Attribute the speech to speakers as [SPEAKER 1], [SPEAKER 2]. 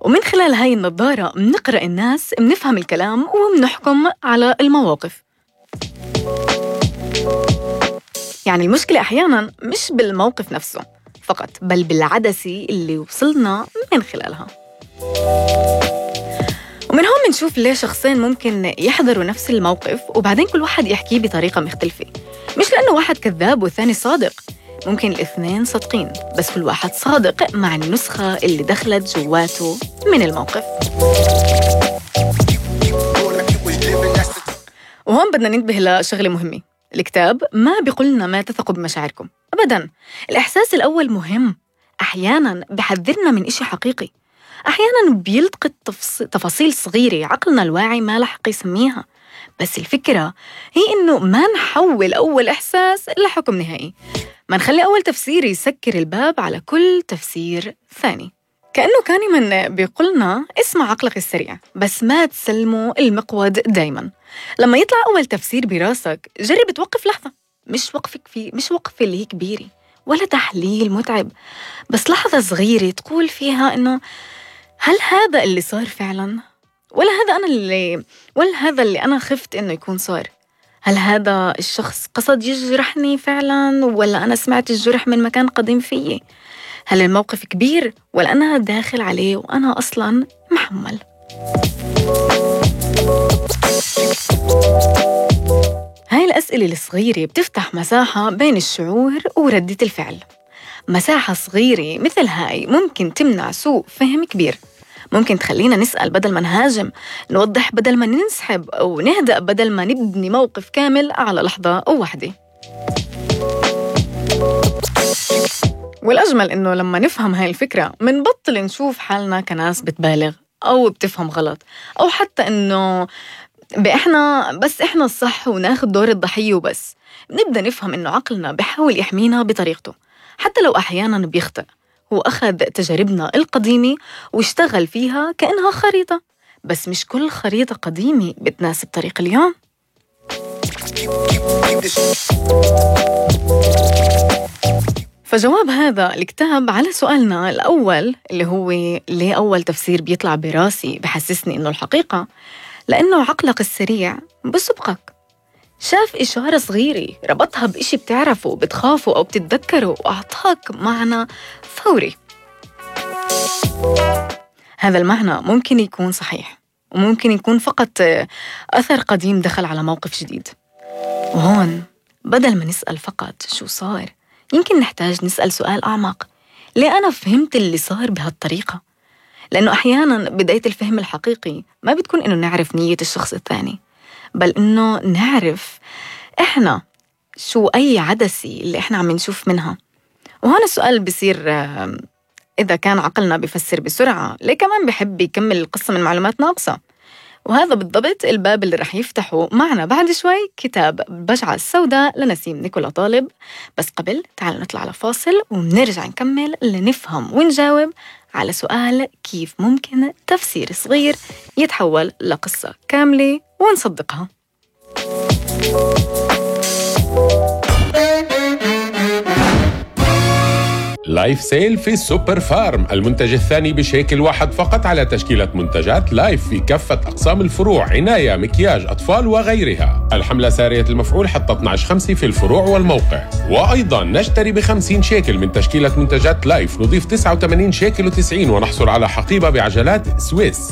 [SPEAKER 1] ومن خلال هاي النظارة منقرأ الناس، منفهم الكلام ومنحكم على المواقف. يعني المشكلة أحياناً مش بالموقف نفسه فقط، بل بالعدسة اللي وصلنا من خلالها. ومن هون منشوف ليه شخصين ممكن يحضروا نفس الموقف وبعدين كل واحد يحكيه بطريقة مختلفة. مش لأنه واحد كذاب والثاني صادق، ممكن الاثنين صادقين بس كل واحد صادق مع النسخة اللي دخلت جواته من الموقف. وهون بدنا ننتبه لشغلة مهمة. الكتاب ما بيقولنا ما تثقوا بمشاعركم أبداً. الإحساس الأول مهم، أحياناً بحذرنا من إشي حقيقي، أحياناً بيلتقط تفاصيل صغيرة عقلنا الواعي ما لحق يسميها. بس الفكرة هي إنه ما نحول أول إحساس لحكم نهائي، ما نخلي أول تفسير يسكر الباب على كل تفسير ثاني. كأنه كان من بيقولنا اسمع عقلك السريع بس ما تسلموا المقود دايماً. لما يطلع أول تفسير براسك جرب توقف لحظة، مش وقفة اللي هي كبيرة ولا تحليل متعب، بس لحظة صغيرة تقول فيها إنه هل هذا اللي صار فعلاً؟ ولا هذا اللي أنا خفت إنه يكون صار؟ هل هذا الشخص قصد يجرحني فعلاً ولا أنا سمعت الجرح من مكان قديم فيي؟ هل الموقف كبير ولا أنا داخل عليه وأنا أصلاً محمل؟ هاي الأسئلة الصغيرة بتفتح مساحة بين الشعور وردة الفعل. مساحة صغيرة مثل هاي ممكن تمنع سوء فهم كبير، ممكن تخلينا نسأل بدل ما نهاجم، نوضح بدل ما ننسحب، أو نهدأ بدل ما نبني موقف كامل على لحظة أو واحدة. والأجمل إنه لما نفهم هاي الفكرة منبطل نشوف حالنا كناس بتبالغ أو بتفهم غلط، أو حتى إنه إحنا الصح وناخد دور الضحية وبس. نبدأ نفهم إنه عقلنا بحاول يحمينا بطريقته حتى لو أحياناً بيخطئ. هو أخذ تجاربنا القديمة واشتغل فيها كأنها خريطة، بس مش كل خريطة قديمة بتناسب طريق اليوم. فجواب هذا الكتاب على سؤالنا الأول اللي هو ليه أول تفسير بيطلع براسي بحسسني إنه الحقيقة، لأنه عقلك السريع بسبقك، شاف إشارة صغيرة ربطها بإشي بتعرفه بتخافه أو بتتذكره وأعطاك معنى فوري. هذا المعنى ممكن يكون صحيح وممكن يكون فقط أثر قديم دخل على موقف جديد. وهون بدل ما نسأل فقط شو صار، يمكن نحتاج نسأل سؤال أعمق: ليه أنا فهمت اللي صار بهالطريقة؟ لأنه أحياناً بداية الفهم الحقيقي ما بتكون إنه نعرف نية الشخص الثاني، بل إنه نعرف إحنا شو أي عدسة اللي إحنا عم نشوف منها. وهنا السؤال بيصير إذا كان عقلنا بيفسر بسرعة، ليه كمان بيحب يكمل القصة من معلومات ناقصة؟ وهذا بالضبط الباب اللي رح يفتحه معنا بعد شوي كتاب البجعة السوداء لنسيم نيكولا طالب. بس قبل تعالوا نطلع على فاصل ونرجع نكمل لنفهم ونجاوب على سؤال: كيف ممكن تفسير صغير يتحول لقصة كاملة ونصدقها؟
[SPEAKER 2] لايف سيل في سوبر فارم، المنتج الثاني بشيكل واحد فقط على تشكيلة منتجات لايف في كافة أقسام الفروع، عناية، مكياج، أطفال وغيرها. الحملة سارية المفعول حتى 12/5 في الفروع والموقع. وأيضا نشتري ب50 شيكل من تشكيلة منتجات لايف نضيف 89 شيكل و90 ونحصل على حقيبة بعجلات سويس.